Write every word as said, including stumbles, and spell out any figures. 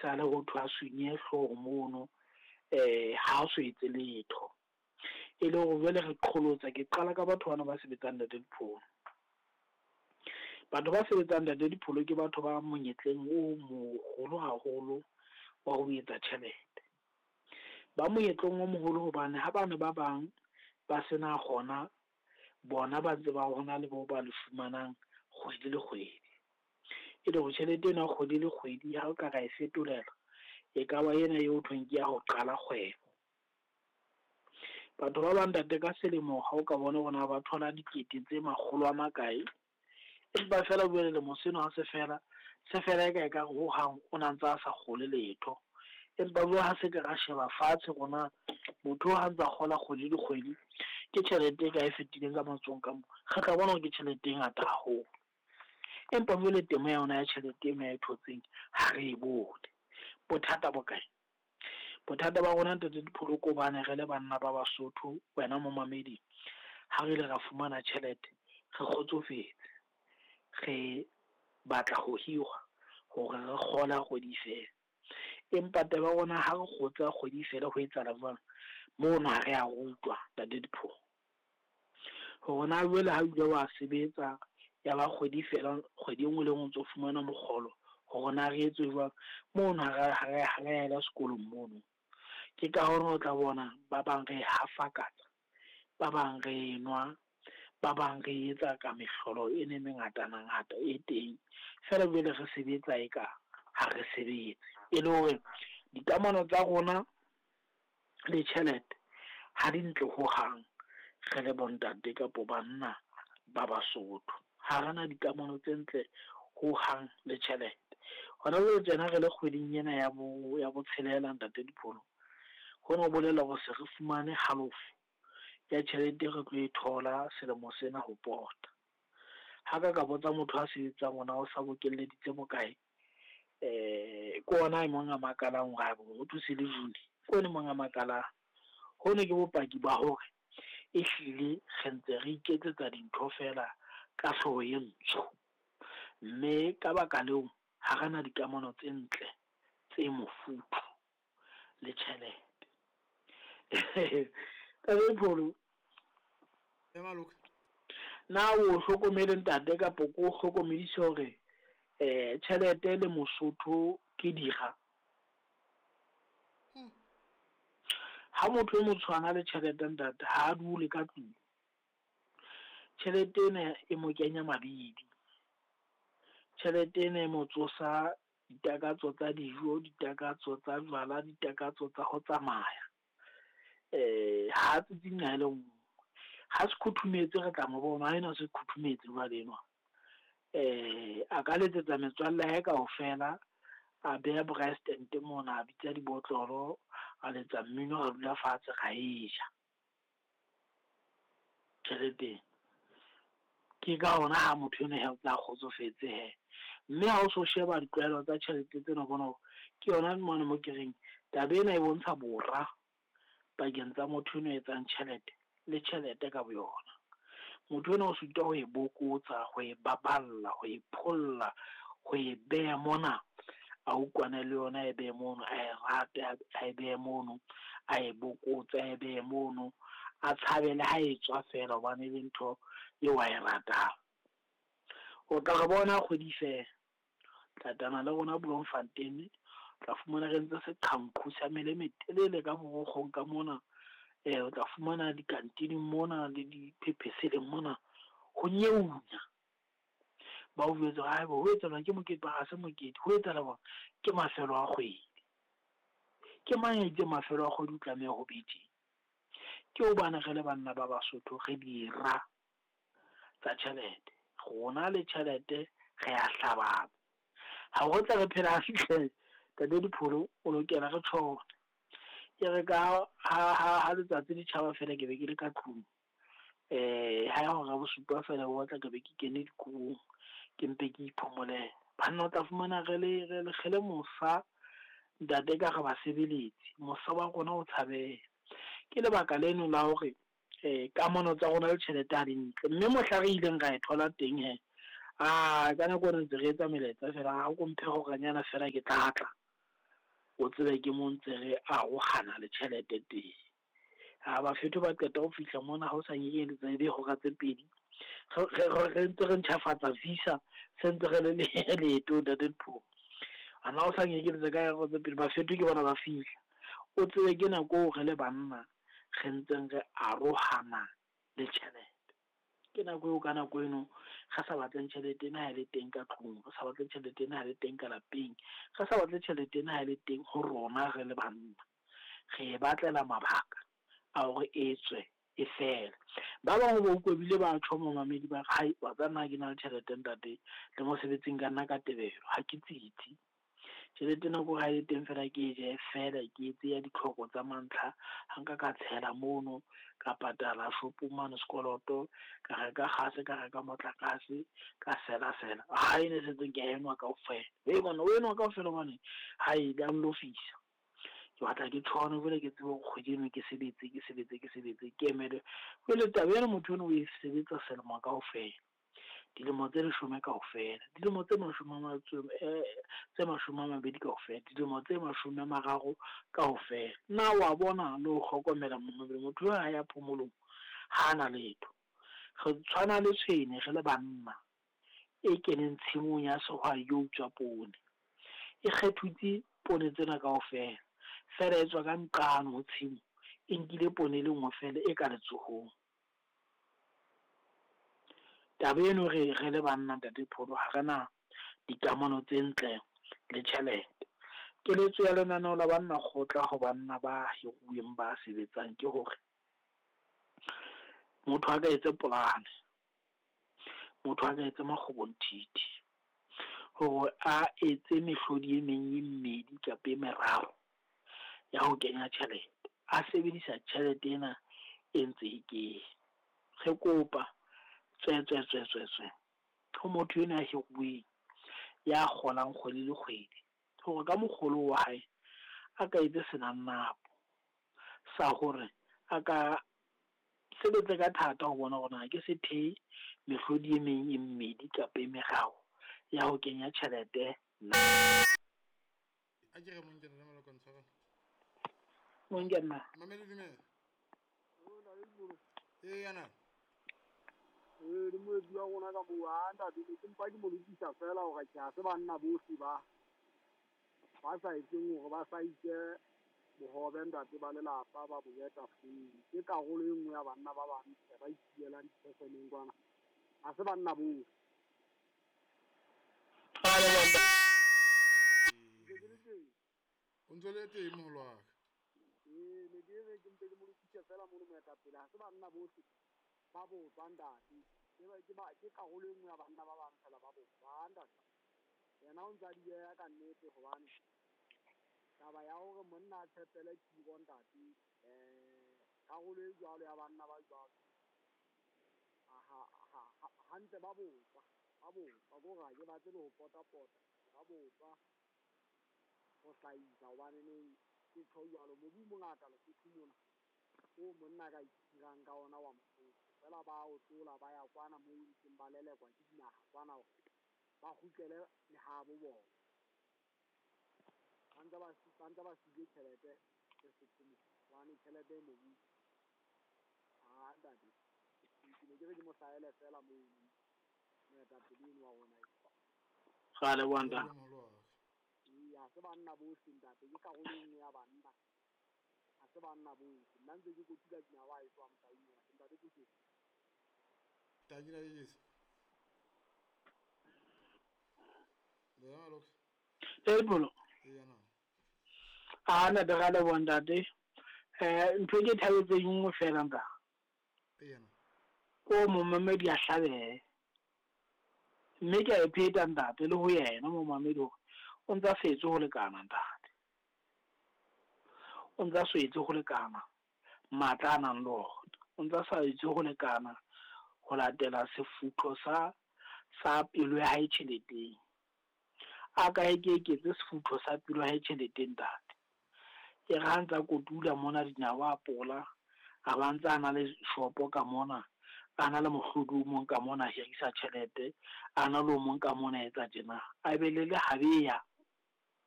sale ho thwe a sunye hlooho mono, eh ha o so etse letho. E le hore jwale re qholotsa, ke qala ka batho bana ba sebetsang Ntate Dipholo. Batho ba sebetsang Ntate Dipholo ke batho ba monyetleng o moholo haholo wa ho etsa tjhelete. Ba monyetleng o moholo hobane ha bane ba bang ba sena hona, bona ba ntse ba hona le bo ba le fumanang kgwedi le kgwedi. E le hore tjhelete ena ya kgwedi le kgwedi ha o ka ra e fetolela, e ka ba ena eo thweng ke ya ho qala kgwebo. Batho ba bang ntate ka selemo ha o ka bona hore na ba thola dikete tse makgolo a makae, empa feela jwale lemo sena ha se fela, se fela e ka ekare ho hang o na ntse a sa kgole letho. Empa jwale ha se ke ra sheba fatshe rona motho ha ntsa kgola kgwedi le kgwedi, ke tjhelete e kae e fetileng ka matsohong ka mo, re tla bona hore ke tjhelete e ngata haholo. Empa jwale temo ya yona ya tjhelete ena e thotseng ha re e bone. Bothata bo kae? Bothata ba rona Ntate Dipholo ke hobane re le banna ba Basotho, wena momamedi ha re ile ra fumana tjhelete, re kgotsofetse. Re batla ho hirwa hore re kgole ha kgwedi e fela. Empa taba ya rona ha re kgotse ha kgwedi e fela ho etsahala jwang? Mono ha re a rutwa Ntate Dipholo. Hore na jwale ha o ile wa sebetsa ya ba kgwedi fela, kgwedi e nngwe le e nngwe o ntso fumana mokgolo hore na re etse jwang, mono ha re ha re ha re ela sekolong mono. Ke ka hona o tla bona ba bang re hafakatsa, ba bang re nwa, ba bang re etsa ka mehlolo ena e mengata ngata e teng. Feela jwale re sebetsa eka ha re sebetse. E le hore dikamano tsa rona le tjhelete ha di ntle ho hang, re le bo ntate kapo banna ba Basotho. Ha rena dikamano tse ntle ho hang le tjhelete. Hona jwale tjena re le kgweding ena ya bo ya botshelela Ntate Dipholo, hona ho bolela hore se re fumane halofo ya tjhelete e re tlo e thola selemo sena ho pota. Ha ka ka botsa motho a sebetsang hore na o sa bokelleditse bokae, eh ke ona e mong a makalang hore ho se le June, ke ona e mong a makalang. Hono ke bopaki ba hore ehlile re ntse re iketsetsa dintho feela ka hlooho e ntsho. Mme ka baka leo, ha rena dikamano tse ntle tse mofuthu le tjhelete. Ntate Dipholo, na o hlokomele ntate kapo ko hlokomedise hore eh tjhelete le Mosotho ke dira? Hmm. Ha motho e motshwana le tjhelete ntate ha a dule ka tlung. Tjhelete ena e mo kenya mabidi. Tjhelete ena e mo tsosa ditakatso tsa dijo, ditakatso tsa jwala, ditakatso tsa ho tsamaya. Eh ha tsitsi nqa le nngwe. Ha se khuthumetse re tla mo bona, ha ena se khuthumetse jwale enwa. Eh a ka letsetsa metswalle ya hae kaofela, a beha braai stand mona, a bitsa dibotlolo, a letsa mmino, ra dula fatshe ra e ja tjheleteng. Ke ka hona ha motho eno he o tla kgotsofetse he. Mme ha o so sheba ditlwaelo tsa tjhelete tsena, o bona hore ke yona mane mo ke reng taba ena e bontsha bora pakeng tsa motho eno a etsang tjhelete le tjhelete ka boyona. Motho enwa o sitwa ho e bokotsa, ho e baballa, ho e pholla, ho e beha mona, a utlwane le yona, a e behe mono, a e rate, a e behe mono, a e bokotse, a e behe mono, a tshabe le ha e tswa feela hobane e le ntho eo a e ratang. O tla re bona kgwedi fela, tlatana le rona Bloemfontein, tla fumana re ntse seqhanqhu sa mele e metelele ka borokgong ka mona. Eh o tla fumana dikantining mona le diphepheseleng mona ho nyeunya. Ba o jwetse hore haeba ho etsahala ke mokete, ha se mokete, ho etsahala hore ke mafelo a kgwedi. Ke mang ya itseng mafelo a kgwedi o tlameha ho be tje? Ke hobane re le banna ba Basotho re dira tsa tjhelete. Rona le tjhelete re a hlabana. Ha re tla re phela hantle Ntate Dipholo, o lokela re tjhone. E re ka ha ha ha letsatsi le tjhaba feela ke be ke le ka tlung. Eh ha ya hora bosupa feela o batla ke be ke kene dikobong, ke mpe ke iphomolele. Banna o tla fumana re le re le re le mosa ntate ka re basebeletsi, mosa wa rona o tshabeha. Ke lebaka leno la hore eh kamano tsa rona le tjhelete ha di ntle. Mme mohla re ileng ra e thola teng he, ah ka nako eno ntse re etsa melaetsa feela, ha o ko mphe horanyana feela ke tla tla. O tsebe ke mo ntse re arohana le tjhelete teng. Ha bafetho ba qeta ho fihla mona ha o sa nyenyeletsa ebe hora tse pedi. Re re ntse re ntjhafatsa visa se ntse re le leetong ntate Dipholo. Ana o sa nyenyeletsa ka hora tse pedi bafetho ke bona ba fihla. O tsebe ke nako eo re le banna re ntseng re arohana le tjhelete. Ke nako eo ka nako eno re sa batleng tjhelete ena ha e le teng ka tlung, re sa batle tjhelete ena ha e le teng ka lapeng, re sa batle tjhelete ena ha e le teng ho rona re le banna. Re e batlela mabaka a hore e tswe e fele. Ba bang ba utlwa ebile ba tjho momamedi ba re, hai wa tseba nna ha ke na le tjhelete ntate le mosebetsing ka nna ka tebelo ha ke tsitsi. Tjhelete ena ko ha e le teng fela ke e je fela ke etse ya ditlhoko tsa mantlha. Ha nka ka tshela mono ka patala shopong mane sekoloto, ka reka kgase, ka reka motlakase, ka sela sela. Ha ena e setseng ke a enwa kaofela. Hei monna o enwa kaofela hobane hae di a nlofisa. Ke batla ke tshwane jwale ke tsebe hore kgwedi eno ke sebetse ke sebetse ke sebetse ke emele. Jwale taba ena motho eno o e sebetsa selemo kaofela. Dilemo tse leshome kaofela, dilemo tse mashome a matso tse mashome a mabedi kaofela, dilemo tse mashome a mararo kaofela. Na wa bona le ho hlokomela momamedi motho eo ha ya phomolong ha na letho. Re tshwana le tshwene re le banna e keneng tshimong ya sehwai yo utswa poone. E kgethutse poone tsena kaofela, fela e tswa ka nqane ho tshimo, e nkile poone e le nngwe fela e ka letsohong. Taba eno re re le banna ntate Pholo ha re na dikamano tse ntle le tjhelete. Keletso ya lenaneo la banna kgotla ho banna ba hiruweng ba sebetsang ke hore motho a ka etse polane, motho a ka etse makgobonthithi hore a etse mehlodi e meng e mmedi kapa e meraro ya ho kenya tjhelete. A sebedisa tjhelete ena e ntse e kene. Re kopa tswe tswe tswe tswe tswe ho motho enwa ya hiruweng ya kgolang kgwedi le kgwedi hore ka mokgolo wa hae a ka etse senannapo sa hore a ka sebetse ka thata ho bona hore na ke se thehe mehlodi e meng e mmedi kapa e meraro ya ho kenya tjhelete na. A ke re monkena le maloko ntshwarela. Monkena. Mamedi dumela. Ee yana. Ee, le moetsi wa rona ka moo ha ntate ke mpa ke mo lokisa fela hore ke ha se banna bohle ba ba sa etseng hore ba sa itse bohobe ntate ba lelapa ba bo beha tafoleng. Ke karolo e nngwe ya banna ba bang ba itsielang dipheseneng kwana. Ha se banna bohle. O ntse le teng moholo wa ka. Ee, ne ke re ke mpe ke mo lokise fela mono moetapele. Ha se banna bohle ba botswa ntate. Ke ba ke ba ke karolo e nngwe ya banna ba bang fela ba botswa ntate. Yena o ntse a di beha ka nnete hobane taba ya hore monna a tshepele tiro ntate, eh karolo e jwalo ya banna ba jwalo ha ha hantle ba botswa, ba botswa ko hore ha ke batle le ho pota-pota, ba botswa ho hlahisa hobane neng ke tjho jwalo mobu o mongata Lesotho mona o monna ka itirang ka ona wa Mosotho. Fela ba o tlola ba ya kwana moo ntseng ba lelekwa ke dinaha kwana hore ba kgutlele lehabo bona. Ba ntse ba ba ntse ba siile tjhelete Lesotho mona hobane tjhelete e mobu. Ha ntate, ke ne ke re ke mo hlahele fela moo moetapele eno wa rona. Ra leboha ntate. Moholo wa ka. Ee, ha se banna bohle ntate, ke karolo e nngwe ya banna. Ha se banna bohle. Nna ntse ke kotula dinawa ha e tswa motaung mona. Ntate Puso. Tanki na le Le maloko. Ee Pholo. Ee yana. A ntate ra leboha ntate. Eh ntho e ke thabetseng e nngwe fela ntate. Ee yana. Ko momamedi a hlabehe. Mme ke a e pheta ntate le ho yena momamedi hore o ntsa setse ho lekana ntate. O ntsa swetse ho lekana matla a nang le ona. O ntsa sa etse ho lekana ho latela sefutho sa sa pelo ya hae tjheleteng. A ka e ke eketse sefutho sa pelo ya hae tjheleteng ntate. E re ha ntsa kotula mona dinawa a pola, a ba ntsa a na le shopo ka mona, a na le mohlodi o mong ka mona a hirisa tjhelete, a na le o mong ka mona a etsa tjena. A be le lehabeya